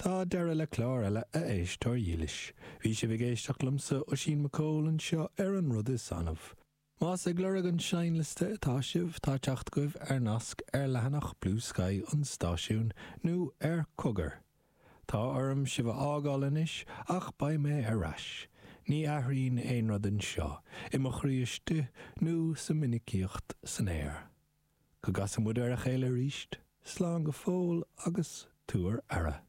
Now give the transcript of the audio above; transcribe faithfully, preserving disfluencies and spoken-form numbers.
Tá deireadh le clár eile a éisteoir dhílis. Bhí sibh ag éisteacht liomsa Oisín McCall anseo ar an rud is annamh. Más ag lorg an seinnliosta atá sibh tá teacht agaibh ar nasc ar leathanach Bluesky an stáisiúin nó ar Cogar. Tá orm sibh a fhágáil anois ach beidh mé ar ais. Ní athraíonn aon rud anseo, i mo chroí istigh nó sa minicíocht san aer. Go gcasa muid ar a chéile arís, slán go fóill agus tabhair aire.